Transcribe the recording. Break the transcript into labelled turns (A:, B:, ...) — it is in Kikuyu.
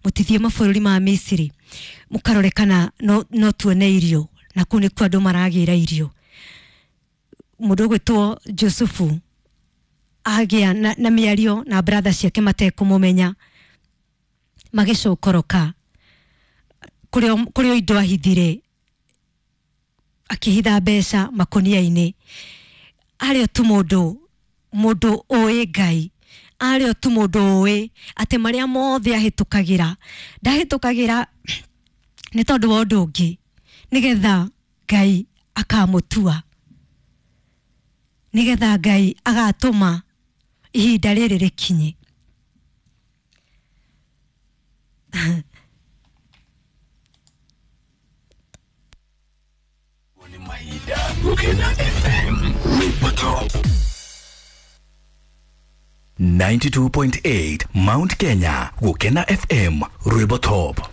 A: Mũtithiĩ mabũrũri ma Misiri mũkarore kana no tuone irio, na kũu nĩkuo andũ maragĩra irio. Mũndũ ũgwĩtwo Jusufu agĩa na mĩario na brother ciake matekũmũmenya, magĩcokoroka kũrĩa indo ahithire, akĩhitha mbeca makonia-inĩ. Arĩ o tu mũndũ ũĩ Ngai, arĩ o tu mũndũ ũĩ atĩ marĩa mothe ahĩtũkagĩra ndahĩtũkagĩra nĩ tondũ wa ũndũ ũngĩ, nĩgetha Ngai akamũtua, nĩgetha Ngai agatũma ihinda rĩrĩ rĩkinye.
B: Mahinda Gukena FM Rwĩmbo 92.8 Mount Kenya Gukena FM Rwĩmbo Top.